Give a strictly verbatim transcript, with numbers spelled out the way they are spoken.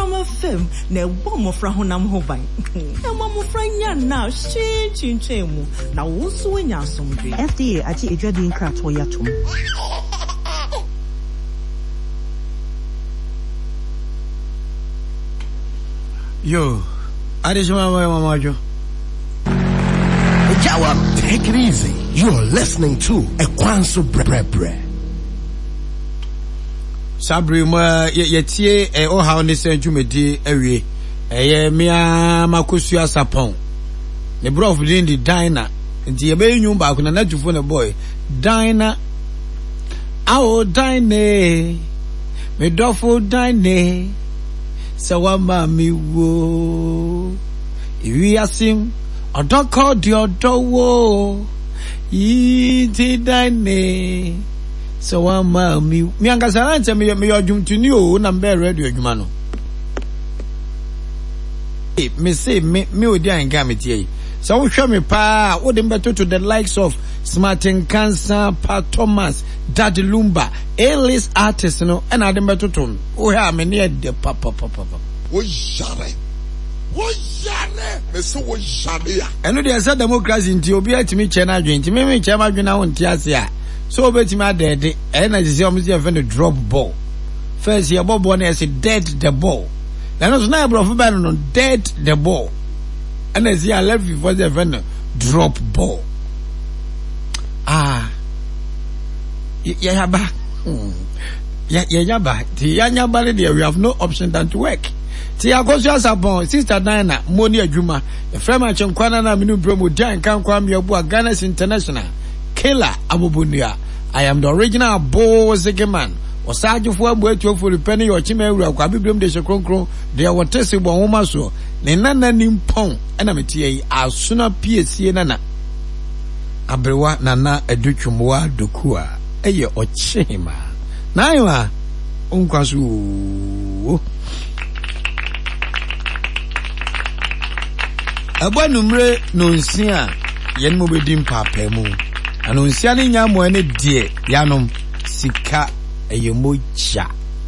Honam fam na ɛbɔ mmɔfra honam ho ban. Ɛma mmɔfra nya nna a hwee ntwintwan mu na wo nso woanya asomdwoe. F D A agye adwadie nkratoɔ yi atom. Yo, adehyema mama adwo. Take it easy. You're listening to Ekwanso Brebre. Saa bere mu a yɛtie ɔhaw ne sɛ dwumadi awie, ɛyɛ mmea Makosua Sapɔn ne borɔfo din de Dina, nti yɛbɛyɛ nnwom baako na n'atufo ne boy Dina. Awo Dine, me dɔfo Dine, sɛ wama me wo ewiase ɔdɔkɔ de ɔdɔ wo yi nti Dine sɛ wama me mi ankasa na nkyɛn meyɛ meyɛ ɔdwomtoni o, na mbɛyɛ radio adwuma no. Me se me me odi ahenka me tie yi sɛ wohwɛ me paa, wode mbɛtoto the likes of Smart Nkansa, Pa Thomas, Daddy Lumba, A-list artist no, ɛna ade mbɛtoto no. Wohwɛ a, me ne ɛdɛ papapapa. Wo yare, wo yare, mese wo yare a. Ɛno deɛ, sɛ democracy nti obi atumi kyɛ no adwene, nti meme kyɛ m adwene na wonte ase a, sɛ wobɛtumi adɛɛde ɛyɛ na sɛ sɛ ɔmo sɛ yɛfɛ no drop ball. First yɛbɔ ball no, yɛsɛ dead the ball, na ɛno so na ɛborɔfo bɛn no no dead the ball, ɛna ɛsi a left foɔ sɛ yɛfɛ no drop ball. Ah, yɛyaba yɛnyaba nti yɛanyaba no deɛ, we have no option than to work. Nti yɛakɔso Asapɔn, Sister Diana mo ne adwuma yɛfrɛ me Akyenkwa no na mene brɛ mu di anka nkwa mmeaboa Ghana's international killer abobonua. I am the original Bozege man, ɔsaagyefoɔ amu atuafoɔ repɛ ne yɛ ɔkyema awura kɔ abibirem de hyɛ kronkron deɛ wɔte se bɔ nwoma soɔ ne nana ni mpɔn, ɛna meteɛ yi asona piesie nana aberewa Nana Adutwumwa Doku a ɛyɛ ɔkyehema na ayewa nkwa so oo. Ɛbɔ anumere nonsia a yɛn mo bɛdi mpaapaa na nonsia no nya mmoa ne deɛ yanom sika ɛyɛ mogya.